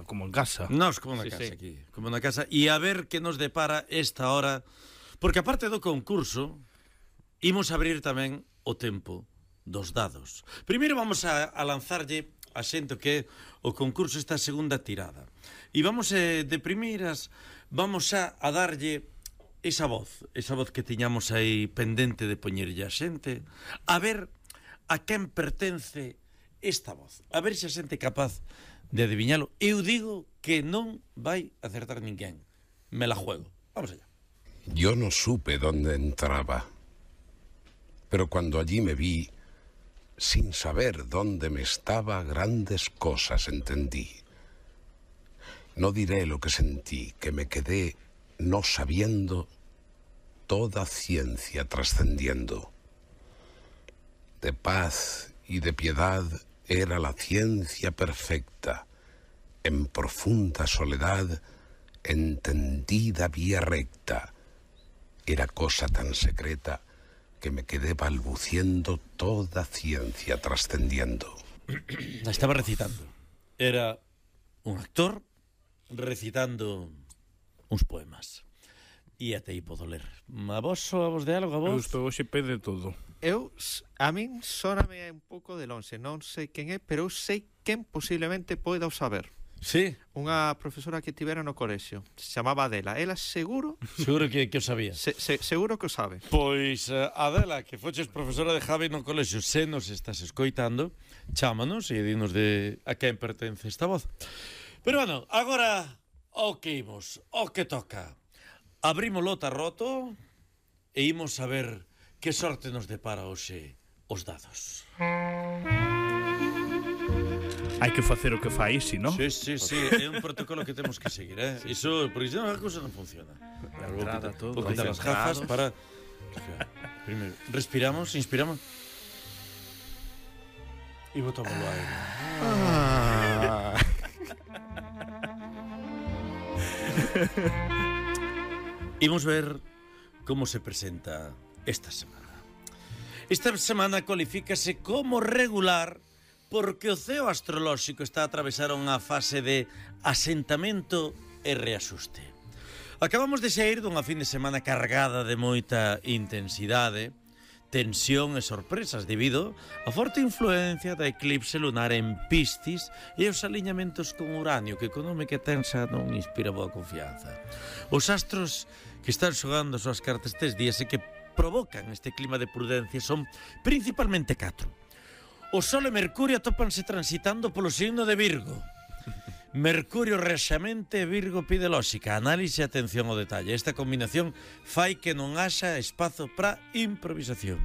como en casa. Nos como na casa aquí, como na casa. E a ver que nos depara esta hora, porque aparte do concurso, imos abrir tamén o tempo dos dados. Primeiro vamos a lanzarlle a xente que é o concurso esta segunda tirada. E vamos de primeiras, vamos a darlle esa voz que tiñamos aí pendente de poñerlle a xente, a ver a quen pertence esta voz. A ver se a xente é capaz de adivinhalo. Eu digo que non vai acertar ninguén. Me la juego. Vamos allá. Yo no supe dónde entraba, pero cuando allí me vi, sin saber dónde me estaba, grandes cosas entendí. No diré lo que sentí, que me quedé no sabiendo, toda ciencia trascendiendo. De paz y de piedad era la ciencia perfecta, en profunda soledad, entendida vía recta. Era cosa tan secreta que me quedé balbuciendo, toda ciencia trascendiendo. La estaba recitando. Era un actor recitando uns poemas. E até aí podo ler. A vos de algo, a vos? Eu estou hoxe pe de todo. A min sóname un pouco de lonxe, non sei quen é, pero eu sei quen posiblemente poida o saber. Sí. Unha profesora que tivera no colexio, se chamaba Adela. Ela seguro que o sabía. Seguro que o sabe. Pois, Adela, que foches profesora de Javi no colexio, se nos estás escoitando, chámanos e dinos de a quen pertence esta voz. Pero bueno, agora o que imos, o que toca. Abrimos o tarroto e imos a ver que sorte nos depara hoxe os dados. Hai que facer o que fai, si, non? Sí, é un protocolo que temos que seguir, Iso, porque senón a cousa non funciona. Vou quitar as gafas para... Primeiro, respiramos, inspiramos. E botamos o aire. Imos ver como se presenta esta semana. Esta semana cualifícase como regular porque o ceo astrolóxico está a atravesar unha fase de asentamento e reaxuste. Acabamos de sair dunha fin de semana cargada de moita intensidade, tensión e sorpresas debido á forte influencia da eclipse lunar en Piscis e os aliñamentos con Uranio, que con nome que tensa non inspira boa confianza. Os astros que están xogando as súas cartas estes días e que provocan este clima de prudencia son principalmente 4. O Sol e Mercurio atópanse transitando polo signo de Virgo. Mercurio rexamente e Virgo pide lóxica, análise e atención ao detalle. Esta combinación fai que non haxa espazo para improvisación.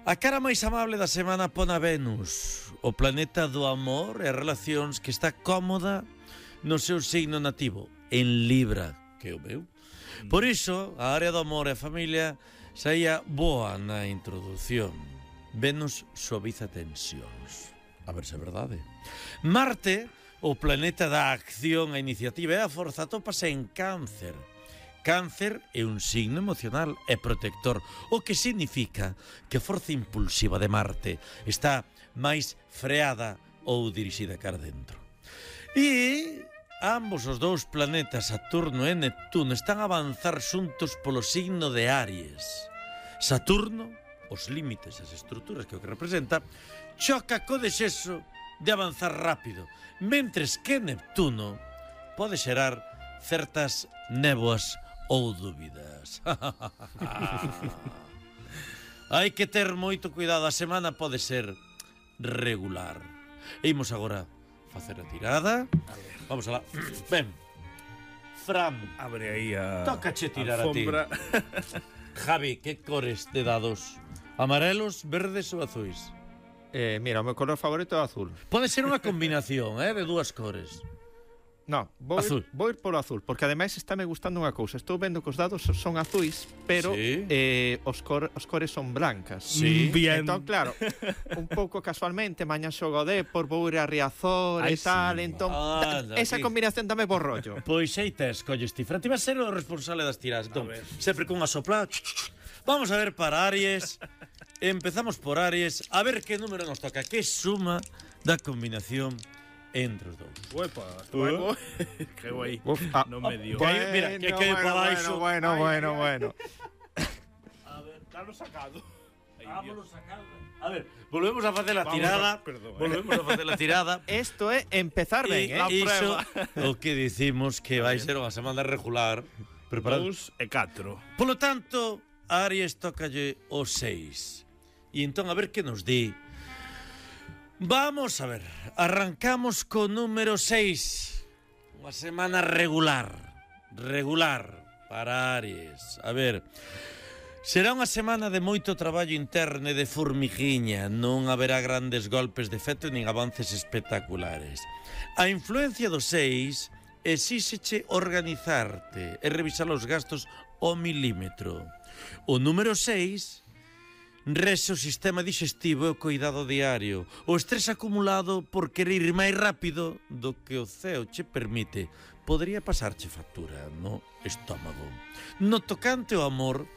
A cara máis amable da semana pon a Venus, o planeta do amor e relacións, que está cómoda no seu signo nativo, en Libra, que é o meu. Por iso, a área do amor e a familia saía boa na introdución. Venus suaviza tensións. A ver se é verdade. Marte, o planeta da acción, a iniciativa e a forza, atópase en Cáncer. Cáncer é un signo emocional e protector, o que significa que a forza impulsiva de Marte está máis freada ou dirixida cara dentro. E ambos os dous planetas, Saturno e Neptuno, están a avanzar xuntos polo signo de Aries. Saturno, os límites, as estruturas que o que representa, choca co desexo de avanzar rápido, mentres que Neptuno pode xerar certas néboas ou dúbidas. Hai que ter moito cuidado, a semana pode ser regular. E imos agora facer a tirada. Vamos alá. Ben, Fran, abre aí a... tócache tirar a ti. Javi, que cores de dados? Amarelos, verdes ou azuis? Mira, o meu color favorito é o azul. Pode ser unha combinación, de dúas cores. No, vou ir polo azul, porque ademais está me gustando unha cousa. Estou vendo que os dados son azuis, pero sí. Os cores son blancas. Sí. Bien. Entón, claro, un pouco casualmente, mañá xogo Depor, vou ir a Riazor e tal, sí. entón esa combinación dame por rollo. Pois aí tes, colles ti. Fran, ti vas ser o responsable das tiradas. Entón, sempre cunha sopla. Vamos a ver para Aries. Empezamos por Aries. A ver que número nos toca. Que suma da combinación entre os dous. Uepa, estuvo que guai. No medio. Mira, que cae para baixo. Bueno. A ver, dalo sacado. Vámonos sacando. A ver, volvemos a facer a tirada. Perdón, Volvemos a facer a tirada. Isto é empezar ben, La Iso prueba. o que dicimos que vai ser unha semana regular. Preparado. 2 e 4. Polo tanto, a Aries tócalle o 6. E entón, a ver que nos di. Vamos a ver. Arrancamos co número 6. Unha semana regular. Regular para Aries. A ver. Será unha semana de moito traballo interno e de formigiña. Non haberá grandes golpes de efecto nin avances espectaculares. A influencia do 6 exíxeche organizarte e revisar os gastos ao milímetro. O número 6 rexe o sistema digestivo e o cuidado diario. O estrés acumulado por querer ir máis rápido do que o ceo che permite podría pasarche factura no estómago. No tocante ao amor,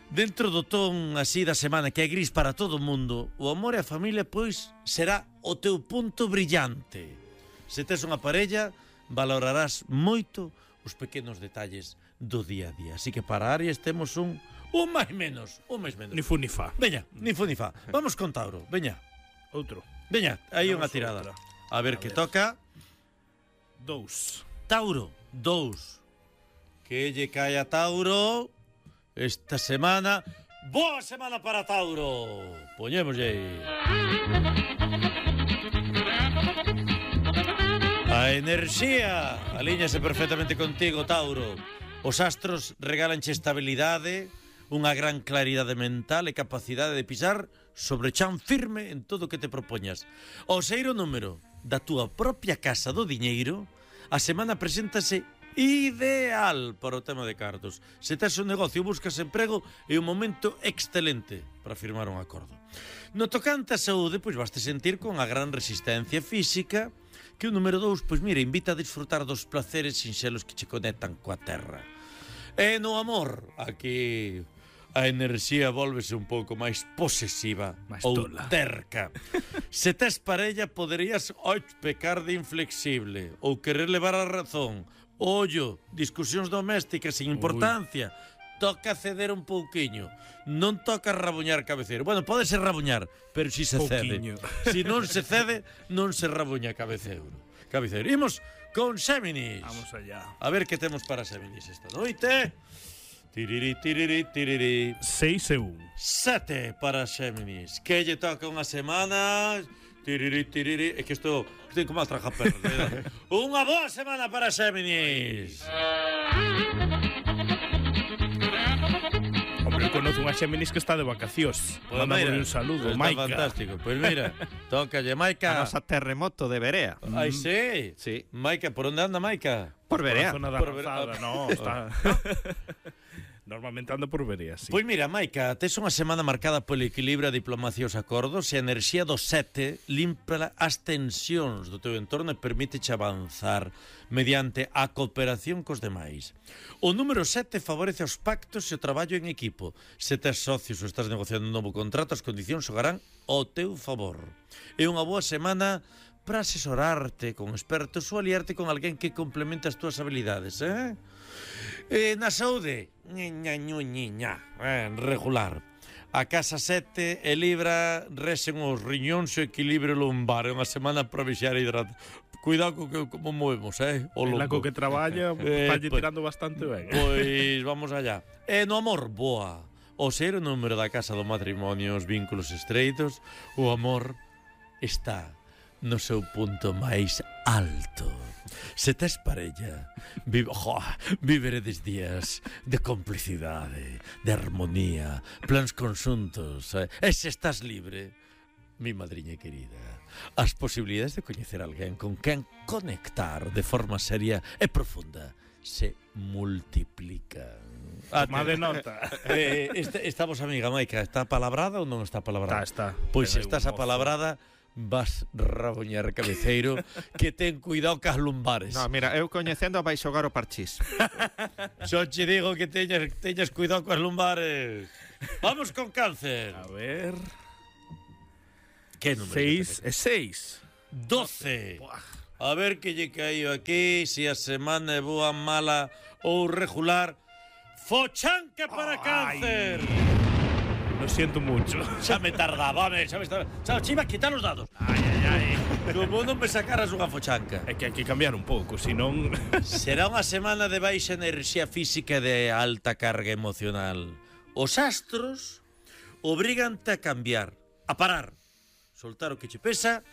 dentro do ton así da semana que é gris para todo o mundo, o amor e a familia pois será o teu punto brillante. Se tes unha parella, valorarás moito os pequenos detalles do día a día. Así que para Aries temos un máis menos. Ni fu ni fa. Veña, ni fu ni fa. Vamos con Tauro, veña. Outro. Veña, aí Vamos unha tirada. outra. A ver que toca. 2. Tauro, 2. Que lle cae a Tauro esta semana. Boa semana para Tauro. Poñémoslle. A enerxía alíñase perfectamente contigo, Tauro. Os astros regalanche estabilidade, unha gran claridade mental e capacidade de pisar sobre chan firme en todo o que te propoñas. O seiro número da túa propia casa do diñeiro, a semana preséntase ideal para o tema de cartos. Se tes un negocio, buscas emprego, é un momento excelente para firmar un acordo. No tocante a saúde, pois vaste sentir con a gran resistencia física que o número 2, pois mira, invita a disfrutar dos placeres sinxelos que che conectan coa terra. E no amor, aquí a enerxía volvese un pouco máis posesiva ou tola. terca. Se tes parella, poderías pecar de inflexible ou querer levar a razón. Ollo, discusións domésticas sin importancia. Toca ceder un pouquiño. Non toca rabuñar cabeceiro. Bueno, pode ser rabuñar, pero si se Pouquiño. cede. Si non se cede, non se rabuña cabeceiro. Imos con Xéminis. Vamos allá. A ver que temos para Xéminis esta noite. Tiriri, tiriri, tiriri. 6 e 1. 7 para Xéminis. Que lle toca unha semana. Tiriri, tiriri. É que isto ten como a traja perro. Unha boa semana para Xéminis. Hombre, eu conozo unha Xéminis que está de vacacións. Pues Mándame un saludo, está Maica. fantástico. Pois mira, tócalle Maica. A nosa terremoto de Berea. Ai, sí. Sí. Maica, por onde anda Maica? Por Berea. Zona da Por ver- Rozada, no, está... Normalmente ando por Verea, sí. Pois mira, Maica, tes unha semana marcada polo equilibrio, a diplomacia e os acordos e a enerxía do 7 limpa as tensións do teu entorno e permíteche avanzar mediante a cooperación cos demais. O número 7 favorece os pactos e o traballo en equipo. Se tes socios ou estás negociando un novo contrato, as condicións xogarán ao teu favor. É unha boa semana para asesorarte con expertos ou aliarte con alguén que complemente as túas habilidades, na saúde, regular. A casa 7 e Libra resen os riñóns e o equilibrio lumbar. É unha semana para vixar a hidratar. Cuidado con que como movemos, o En la lombo. co que traballa, falle tirando bastante ben. Pois vamos allá. E no amor, boa. O ser o número da casa do matrimonio, os vínculos estreitos, o amor está no seu punto máis alto. Se tes parella, viveredes días de complicidade, de armonía, plans conxuntos. E se estás libre, mi madriña querida, as posibilidades de coñecer alguén con quen conectar de forma seria e profunda se multiplican. Toma de nota. Estamos, amiga Maica, está palabrada ou non está palabrada? Está. Pois se Pero estás mozo. apalabrada, vas raboñar cabeceiro, que ten cuidado cas lumbares. No, mira, eu coñecendo vai xogar o parchís. Só che digo que teñas cuidado cas lumbares. Vamos con Cáncer. A ver... Que número? 6 e 6. 12. A ver que lle caíu aquí, se a semana é boa, mala ou regular. Fochanca para Cáncer. Lo siento mucho. Xa me tardaba, home, xa me estaba... Xa iba a quitar os dados. Ai. Como non me sacaras unha fochanca. É que hai que cambiar un pouco, senón... Será unha semana de baixa enerxía física e de alta carga emocional. Os astros obrígante a cambiar, a parar, soltar o que che pesa